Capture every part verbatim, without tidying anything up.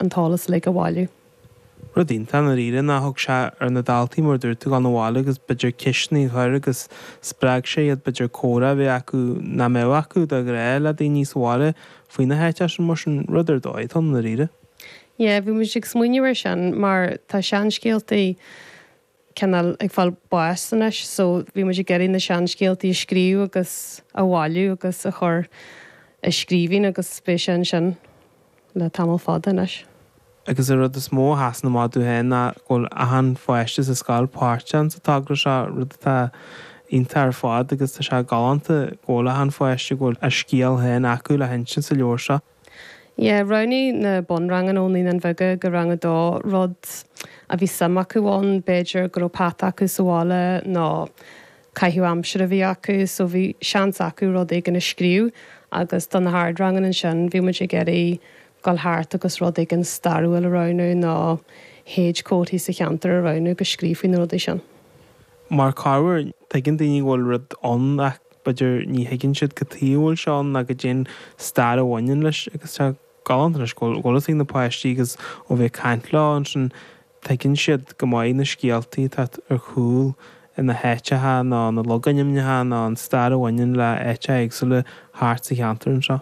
an t-eolas uilig a bhailiú. Rud iontach dáiríre ná thug sé ar na daltaí mar dúirt tú dul abhaile agus b'fhéidir ceisteanna a chur agus spreag sé iad b'fhéidir comhrá a bheith acu nach mbeadh acu de ghnáth le daoine sa bhaile faoi na háiteacha sin mar sin rud ar dóigh atá ann dáiríre. Yeah, bhí muid ag smaoineamh ar sin mar tá seanscéaltaí cineál ag fáil báis anois, so bhí muid ag iarraidh na seanscéaltaí a scríobh agus a bhailiú agus a chur i scríbhinn agus beidh sé ansin le tamall fada anois. Agus an rud is mó a sheasann amach domh féin ná go bhfuil achan pháiste sa scoil páirteach sa togra seo, rud atá iontach ar fad agus tá sé galánta go bhfuil achan pháiste go bhfuil a scéal féin acu le hinsint sa leabhar seo. Yeah, roghnaigh na bunranganna ó Naíonáin Bheaga go rang a dó rud a bhí suim acu ann, b'fhéidir go raibh peata acu sa bhaile nó caitheamh aimsire a bhí acu, so bhí seans acu rud éigin a scríobh agus do na hardranganna ansin bhí muid ag iarraidh dul thart agus rud éigin stairiúil a roghnú nó séadchomharthaí sa cheantar a roghnú agus scríobh faoi na rudaí sin. Mar corruair tuigeann daoine go bhfuil rud ann ach b'fhéidir ní thuigeann siad cad chuige a bhfuil sé ann ná cad é an stair a bhaineann leis agus tá galánta anois go bhfuil fhios ag na páistí agus ó bheith ag caint leo ansin tuigeann siad go maith na scéaltaí atá ar chúl na háiteacha nó na logainmneacha nó an stair a bhaineann le háiteacha éagsúla thart sa cheantar anseo.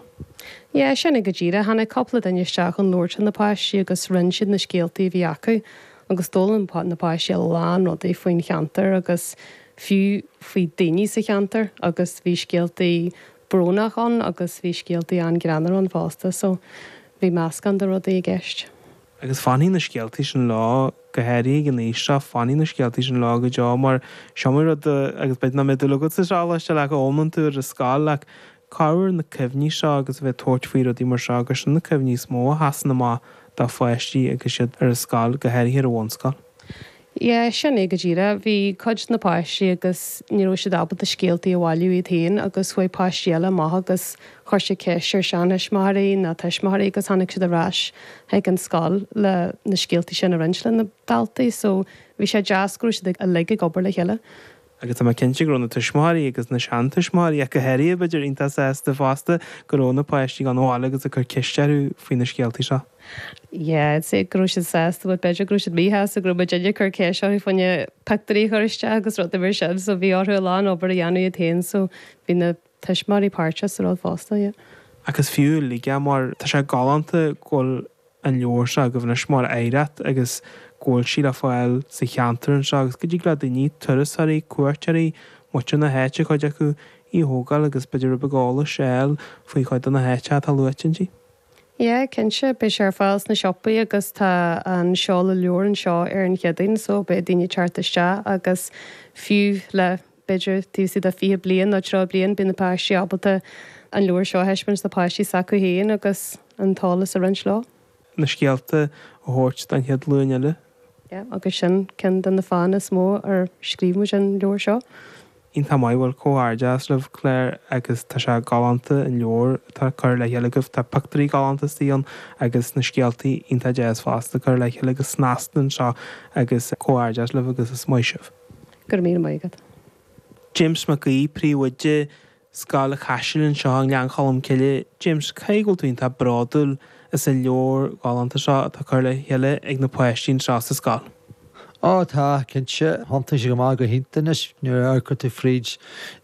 Yeah, sin é go díreach tháinig cúpla duine isteach chun labhairt na páistí agus roinn siad na scéaltaí a bhí acu agus d'fhoghlaim na páistí a lán rudaí faoin cheantar agus fiú faoi daoine sa cheantar agus bhí scéaltaí brónach ann agus bhí scéaltaí an-ghreannmhar ann fosta, so bhí meascán de rudaí i gceist. Agus fanfaidh na scéaltaí sin leo go háirithe ag an aois seo fanfaidh na scéaltaí sin leo go deo mar seo rud agus b'fhéidir nach mbeidh dúil agat sa seo leis le go bhfoghlaimíonn tú ar an scoil ach corruair na cuimhní seo agus a bheith tabhairt faoi rudaí mar seo agus sin na cuimhní is mó a sheasann amach do pháistí agus siad ar an scoil go háirithe ar an bhunscoil. Yeah, sin é go díreach bhí cuid na páistí agus ní raibh siad ábalta scéaltaí a bhailiú iad féin agus chuaigh páistí eile amach agus chuir siad ceist ar seantuismitheoirí nó tuismitheoirí agus tháinig siad ar ais chuig an scoil le na scéaltaí sin a roinnt le na daltaí, so bhí sé deas go raibh siad uilig ag obair le chéile. Agus tá mé cinnte go raibh na tuismitheoirí agus na seantuismitheoirí ach go háirithe b'fhéidir iontach sásta fosta go raibh na páistí gan abhaile agus ag cur ceist orthu faoi na scéaltaí seo. Yeah, I'd say go raibh siad sásta, but b'fhéidir go raibh siad míshásta go raibh muid ag cur ceist orthu faoi na pictiúirí a chur isteach agus rudaí mar sin, so bhí orthu a lán obair a dhéanamh iad féin, so bhí na tuismitheoirí páirteach sa rud fosta, yeah. Agus fiú uilig mar tá sé galánta go bhfuil an leabhar seo agaibh anois mar oidhreacht agus go bhfuil sí le fáil sa cheantar anseo agus go dtig le daoine turasóirí, cuairteoirí, muintir na háite cuid acu í a thógáil agus b'fhéidir rud beag eolais a fháil faoi chuid de na háiteacha atá luaite inti. Yeah, cinnte beidh sé ar fáil sna siopaí agus tá an seoladh leabhar anseo ar an Chéadaoin, so beidh daoine teacht isteach agus fiú le b'fhéidir taobh istigh de fiche bliain nó tríocha bliain beidh na páistí ábalta an leabhar seo a thaispeáint na páistí s'acu féin agus an t-eolas a roinnt leo. na scéalta a thabhairt don chéad ghlúin eile. Yeah, agus sin ceann de na fáthanna is mó ar scríobh muid an leabhar seo. Iontach maith bhuel comhghairdeas libh Claire agus tá sé galánta an leabhar atá curtha le chéile agaibh tá pictiúirí galánta istigh ann agus na scéaltaí iontach deas fosta curtha le chéile agus snasta anseo agus comhghairdeas libh agus is maith sibh. Go raibh míle maith agat. James Mac Aoidh príomhoide Scoil Chaisil anseo i nGleann Cholm Cille. James cé go bhfuil tú iontach bródúil as an leabhar galánta seo atá curtha le chéile ag na páistí anseo sa scoil. Ó tá cinnte thiontaigh sé go maith go hiontach anois nuair a amharcann tú fríd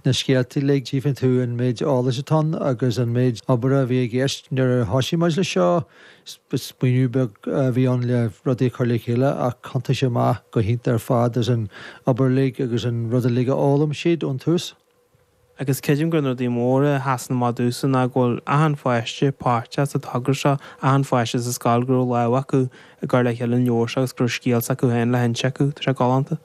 na scéaltaí uilig tchífeann tú an méid eolais atá ann agus an méid obair a bhí i gceist nuair a thosaigh muid le seo smaoineamh beag a bhí ann le rudaí a chur le chéile ach thiontaigh sé amach go hiontach ar fad as an obair uilig agus an rud uilig a fhoghlaim siad ón tús. Agus creidim gur rudaí móra a sheasann amach domhsa ná go bhfuil achan pháiste páirteach sa togra seo, achan pháiste sa scoil go raibh lámh acu ag cur le chéile an leabhar seo agus go raibh scéal acu féin le hinse acu, tá sé galánta.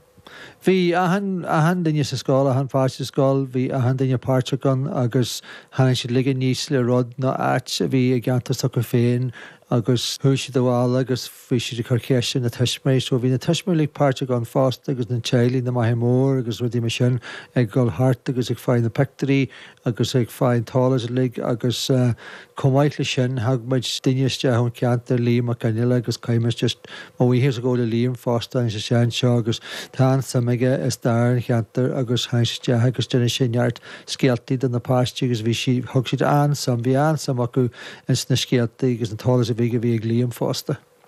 Bhí achan achan duine sa scoil achan pháiste sa scoil, bhí achan duine páirteach ann agus tháinig siad uilig aníos le rud nó áit a bhí i gceantar s'acu féin agus chuaigh siad abhaile agus bhí siad ag cur ceiste na tuismitheoirí, so bhí na tuismitheoirí páirteach ann fosta agus na teaghlaigh na maithe mór agus rudaí mar sin ag dul thart agus ag fáil na pictiúirí agus ag fáil an t-eolas uilig agus uh, chomh maith le sin thug muid duine isteach ón cheantar Liam Mac Fhionnghaile agus caithfidh just mo bhuíochas a ghabháil le Liam fosta an sé anseo agus tá an-suim aige i stair an cheantair agus tháinig isteach agus d'inis sé neart scéaltaí do na páistí agus bhí sí thug siad an-suim bhí an-suim acu ins na scéaltaí agus an t-eolas a bhí a bhí ag Liam fosta.